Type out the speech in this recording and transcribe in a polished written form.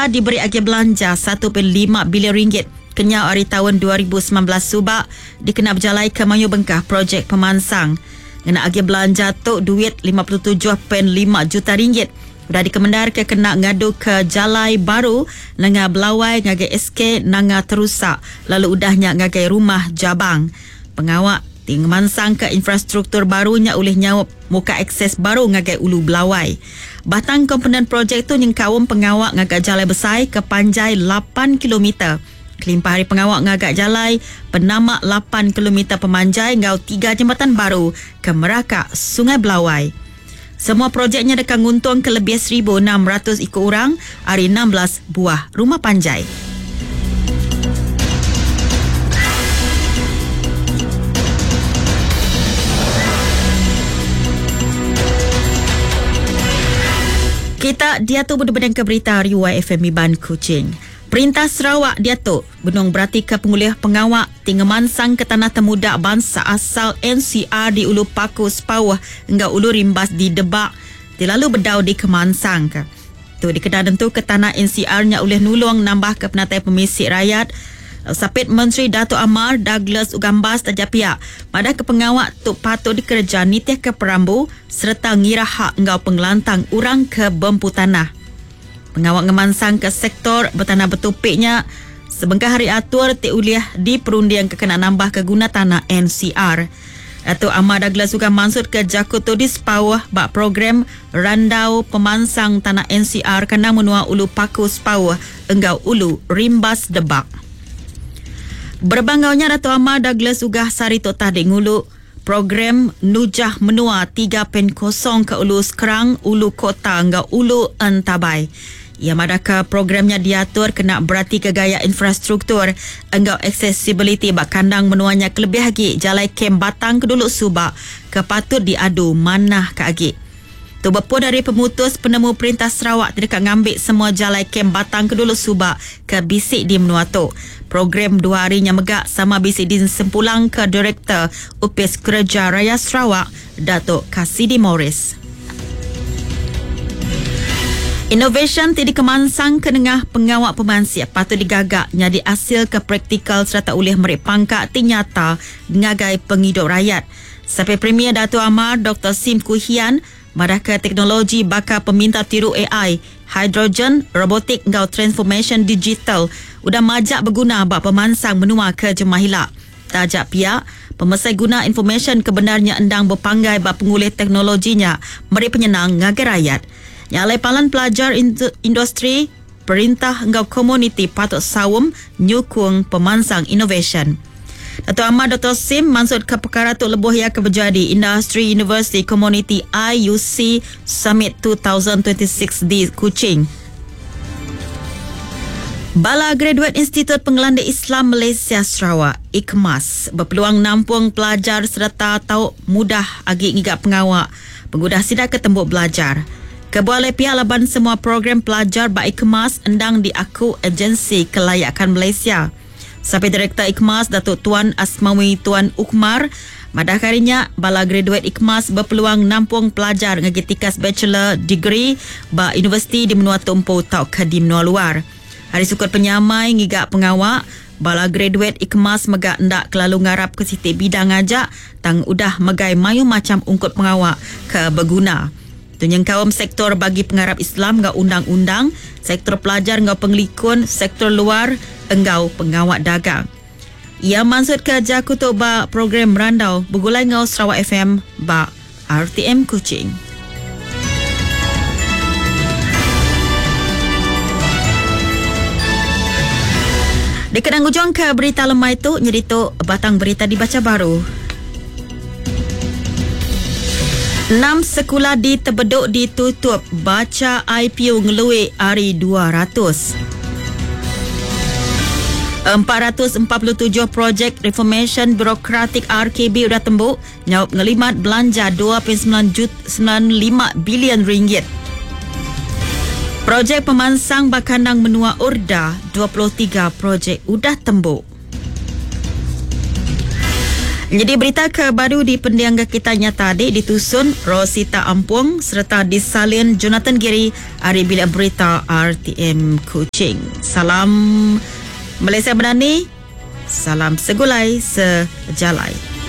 Udah diberi agi belanja 1.5 bilion ringgit kenyau ari taun 2019 suba dikena bejalaika mayuh bengkah projek pemansang. Ngena agi belanja tu duit 57.5 juta ringgit udah dikemendarka kena ngaduka jalai baru nengah Belawai ngagai SK Nanga Terusa lalu udah nya ngagai Rumah Jabang. Pengawa ti ngemansangka infrastruktur baru nya ulih nyaup muka akses baru ngagai Ulu Belawai. Batang komponen projek tu nyengkaum pengawa ngaga jalai besai ke panjai lapan kilometer kelimpah ari pengawa ngaga jalai penama lapan kilometer pemanjai enggau tiga jembatan baru ke meraka Sungai Belawai. Semua projek nya deka nguntungka lebih 1,600 iku orang ari 16 buah rumah panjai. Kita diatu bedengka berita ari YFM Iban Kuching. Perintah Sarawak diatu benung beratika pengulih pengawa ti ngemansangka tanah temuda bansa asal NCR di Ulu Paku Sepauh enggau Ulu Rimbas di Debak ti lalu bedau dikemansangka. Tu dikena nentuka tanah NCR nya ulih nulung nambahka penatai pemisi rayat. Sapit Menteri Datuk Amar Douglas Ugambas taja pia madahka pengawa tu patut dikereja nitihka perambu sereta ngira hak enggau pengelantang orang ke bempu tanah. Pengawa ngemansangka sektor betanah betupi nya sebengkah ari atur ti ulih diperundingka kena nambahka guna tanah NCR. Datuk Amar Douglas Uggah mansutka jaku tu di Sepauh ba program Randau Pemansang Tanah NCR kandang menua Ulu Paku Sepauh enggau Ulu Rimbas Debak. Berebak enggau nya Datuk Amar Douglas Uggah sehari tu tadi ngulu program Nujah Menua 3.0 ke Ulu Skrang, Ulu Kota enggau Ulu Entabai. Iya madahka program nya diatur kena beratika gaya infrastruktur enggau aksesibiliti ba kandang menua nya kelebih agi jalai kem batang ke dulu suba ke patut diadu manah ke agi. Tu bepun ari pemutus penemu Perintah Sarawak ti deka ngambi semua jalai kem batang ke dulu suba ke bisi di menua tu. Program dua hari nya mega sama bisi disempulangka Direktor Opis Kereja Raya Sarawak, Datuk Cassidy Morris. Inovasyen ti dikemansangka nengah pengawa pemansik patut digaga nyadi asil ke praktikal sereta ulih meri pangka ti nyata ngagai pengidup rayat. Sapit Premier Datuk Amar Doktor Sim Kui Hian madahka teknologi baka peminta tiru ai, hidrogen, robotik enggau transformasyen digital udah majak beguna ba pemansang menua ke jemah ila. Taja pia, pemesai guna informasyen ke bendar nya endang bepanggai ba pengulih teknologi nya meri penyenang ngagai rayat. Nya alai palan pelajar industri, perintah enggau komuniti patut saum nyukung pemansang inovasyen. Datuk Amar Doktor Sim mansutka pekara tu lebuh iya ke bejadi Industri Universiti Komuniti IUC Summit 2026 di Kuching. Bala graduet Institut Pengelandik Islam Malaysia Sarawak, IKMAS, bepeluang nampung pelajar sereta tau mudah agi ngiga pengawa pengudah sida ke tembu belajar. Kebuah alai pia laban semua program pelajar ba IKMAS endang diaku Agensi Kelayakan Malaysia. Sapit Direktor IKMAS Datuk Tuan Asmawi Tuan Ukmar madahka hari nya bala graduet IKMAS bepeluang nampung pelajar ngagai tikas bachelor degree ba universiti di menua tu empu tauka di menua luar. Hari sukut penyamai ngiga pengawa, bala graduet IKMAS mega enda kelalu ngarapka siti bidang aja tang udah megai mayuh macham ungkup pengawa ke beguna. Tu nyengkaum sektor bagi pengarap Islam enggau undang-undang, sektor pelajar enggau pengelikun, sektor luar enggau pengawa dagang. Iya mansutka jaku tu ba program Randau Begulai enggau Sarawak FM ba RTM Kuching. Dikena ngujungka berita lemai tu nyadi tu batang berita dibacha baru. Enam sekula di Tebedok ditutup bacha IPU ngelui ari 200. 447 projek reformasyen birokratik RKB udah tembu nyaup ngelimat belanja 2.95 bilion ringgit. Projek pemansang ba kandang menua Urda 23 projek udah tembu. Jadi berita ke baru di pendiang kita nyata adik ditusun Rosita Ampung serta disalin Jonathan Giri hari Bilik Berita RTM Kuching. Salam Malaysia Berani, salam segulai sejalai.